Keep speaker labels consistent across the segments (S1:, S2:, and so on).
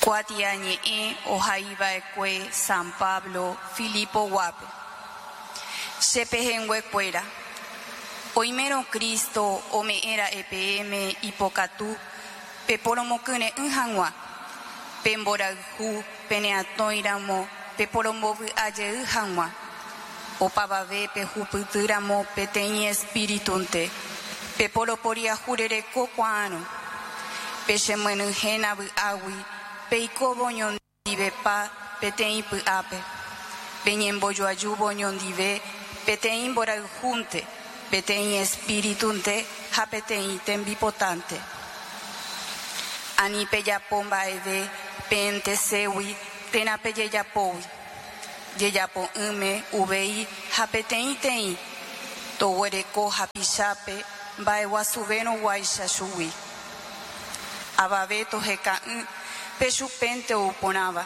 S1: Kuatiañe'ẽ ohaiva'ekue San Pablo Filipoguápe. Che pehẽnguekuéra, oimérõ Cristo ome'ẽra'e peẽme ipokatu peporomokyre'ỹ hag̃ua, pe mborayhu peneatõiramo peporombovy'a jey hag̃ua, opavave pehupytýramo peteĩ espíritunte, peporoporiahurereko kuaárõ, pechemyenyhẽna vy'águi peikóvo oñondivepa peteĩ py'ápe, peñembojoajúvo oñondive peteĩ mborayhúnte, peteĩ espíritunte ha peteĩ tembipotánte. Ani pejapo mba'eve peenteségui térã pejejapógui, jejapo'ỹme uvei ha peteĩteĩ toguereko hapichápe mba'eguasuvérõ guáicha chugui. Avave toheka'ỹ pe chupénte ou porãva,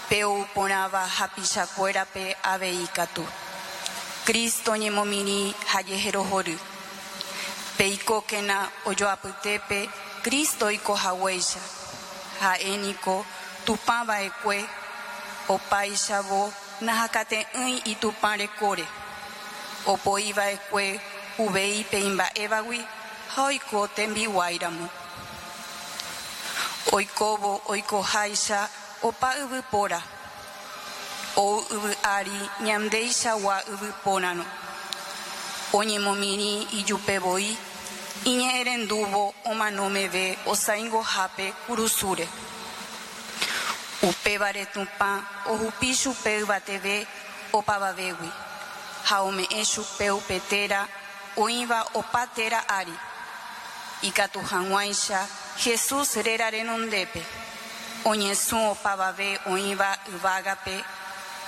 S1: pe ou porãva hapichakuérape avei katu. Cristo ñemomirĩ ha jeherohory. Peikókena ojoapytépe Cristo oiko haguéicha, ha'e niko Tupã va'ekue, opáichavo nahakate'ỹi itupã rekóre, opoi va'ekue uvei pe imba'évagui ha oiko tembiguáiramo. Oikóvo oikoháicha opa yvypóra, ou yvy ári ñandeichagua yvypórarõ, oñemomirĩ ijupe voi, iñe'ẽrendúvo omano meve osaingohápe kurusúre. Upévare Tupã ohupi chupe yvateve opavavégui, ha ome'ẽ chupe upe téra oĩva opa téra ári, ikatu hag̃uáicha Jesús réra renondépe oñesũ opavave oĩva yvágape,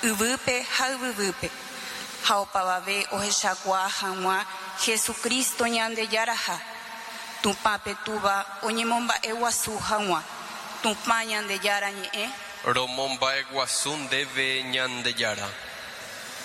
S1: yvýpe ha yvyvýpe, ha opavave ohechakuaa hag̃ua Jesucristo Ñandejaraha, Tupã pe Túva oñemomba'eguasu hag̃ua. Tupã Ñandejára ñe'ẽ.
S2: Romomba'eguasu ndéve Ñandejára.